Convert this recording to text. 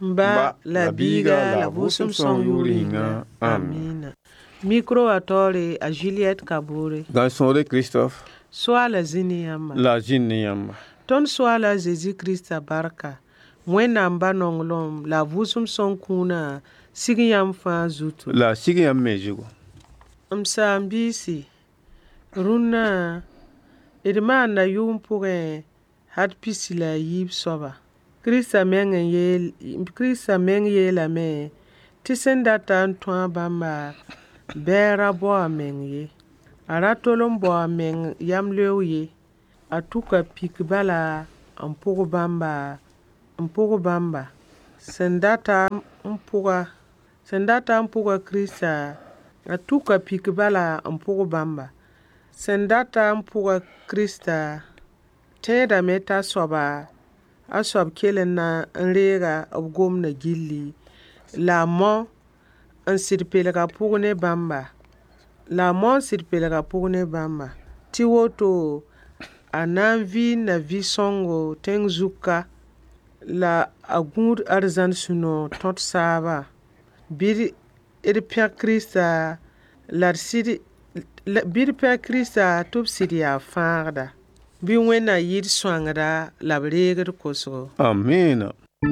Ba la Biiga la Vʋʋsem Sõng yʋʋr yĩnga. Amina. Micro wã taoore a Juliette Kabore. Gãn-sõore Christophe. Soaala zĩ ne yãmba. La zĩnd ne yãmba. Tõnd Soaala a Zezi Krista barka, Wẽnnaam Ba nonglem la a Vʋʋsem Sõng kũunã sig yãmb fãa zutu. La sig yãmb me zugu. M saam-biisi, rũnnã d maanda yʋʋm pʋgẽ had pisi la a yiib soaba. Krista meng n yeel, Krista meng yeelame tɩ sẽn data n tõa bãmba bɩ a ra bao a meng ye. A ra tol n bao a meng yamleoog ye. A tʋka pik bala n pʋg bãmba n pʋg bãmba. Sẽn data n pʋga sẽn data n pʋga Krista, a tʋka pik bala n pʋg bãmba. Sẽn data n pʋga Krista, tẽedame t'a soaba a soab kell n na n reega b gomdã gilli la a mao n sɩd pelga pʋg ne bãmba. La a mao n sɩd pelga pʋg ne bãmba. Tɩ woto a na n vɩɩnda vɩ-sõngo tẽng zug ka la a gũud arzãn sũ-noog tõt saabã. Bɩ d pẽg Krista la d sɩd bɩ d pẽg Krista tɩ b sɩd yaa fãagda. Bɩ Wẽnnaam yɩ d sõangda la b reeg d kosgo. Amina.